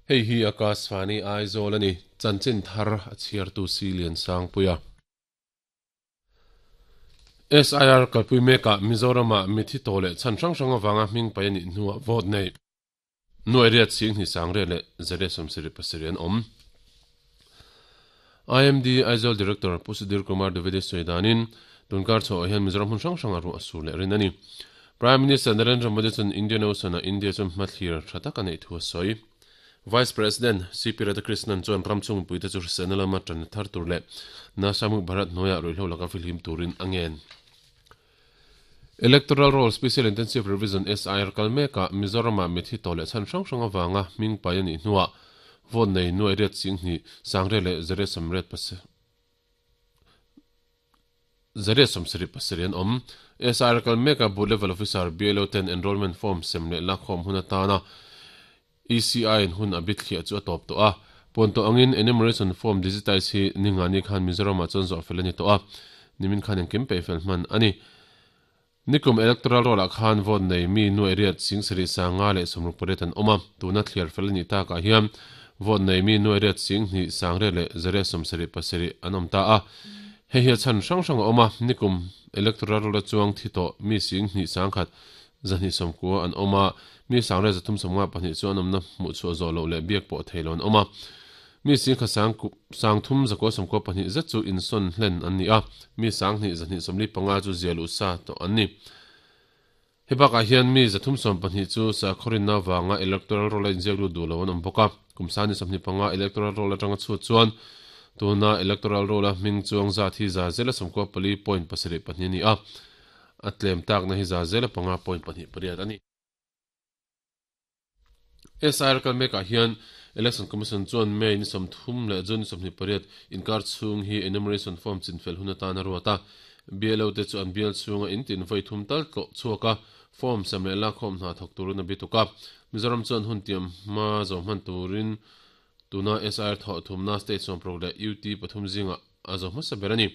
Hei hi Akashvani Aizawl a ni, chanchin thar a chhiartu si Liansangpuia. SIR kalpui mekah Mizoramah mithi tawh leh chhan hrang hrang avanga hming paih a nih hnuah vote nei nuai riat sing hnih sang riat leh zariat sawmsarih pasarih an awm. IMD Aizawl Director Pu Sudhir Kumar Dwivedi sawi danin tunkar chhoah hian Mizoram hmun hrang hrangah ruah a sur leh rin a ni. Prime Minister Narendra Modi chuan Indian Ocean-ah India chuan hmathlir tha tak a neih thu a sawi. Vice President CP Radhakrishnan chuan ram chung mipuite chu hriselna lama tan thar tur leh Nasha Mukt Bharat hnuaiah ruihhlo laka fihlim turin a ngen. Electoral Roll Special Intensive Revision, SIR, kal mekah Mizoramah mithi tawh leh chhan hrang hrang avanga hming pai a nih hnuah vote nei nuai riat singhnih sangriat leh zariat samriat zariat sawmsarih pasarih an awm. SIR kal mekah Booth Level Officer, BLO, ten enrollment form sem leh lakkhawm hun atana ECI in hun a bithliah chu a tawp tawh a. Puan tawh angin enumeration form digitize hi ningani khan Mizoramah chuan zawh fel a ni tawh a, nimin khan engkim peih fel hman a ni. Nikum electoral roll ah khan vote nei mi nuaih riat singsarih sanga leh sawmruk pariat an awm a, tuna thliar fel a nih takah hian vote nei mi nuaih riat singhnih sangriat leh zariat sawmsarih pasarih an awm ta a. Hei hi a chhan hrang hrang a awm a, nikum electoral roll a chuang thi tawh mi singhnih sangkhat Zahnih sawmkua an awm a, mi sangrel zathum sawmnga pahnih chu an awmna hmuh chhuah zawh loh leh biak pawh thei lo an awm a. Mi singkha sang sangthum zakua sawmkua pahnih zet chu insawn hlen an ni a, mi sanghnih zahnih sawmli panga chu zia luh sa tawh an ni. He bakah hian mi zathum sawm pahnih chu sakhawrinna vanga electoral roll a inziak lut duh lo an awm bawk a. Kum sani sawmhnih panga electoral roll atanga chhut chuan tuna electoral roll a hming chuang zat hi za zela sawmkua pali point pasarih pahnih a ni a. A tlem takna hi za zela panga point pahnih pariat a ni. SIR kal mekah hian Election Commission chuan May ni sawmthum leh June ni sawmhnih pariat inkar chhung hi enumeration form chinfel hun atan a ruat a. BLO te chu an bial chhunga in tin vawi thum tal tlawh chhuak a, form sem leh lakkhawm hna thawk turin a bi tuk a. Mizoram chuan hun tiam hma zawh hman turin tuna SIR thawh thumna state sawmparuk leh UT pathum zingah a zo hmasa ber a ni.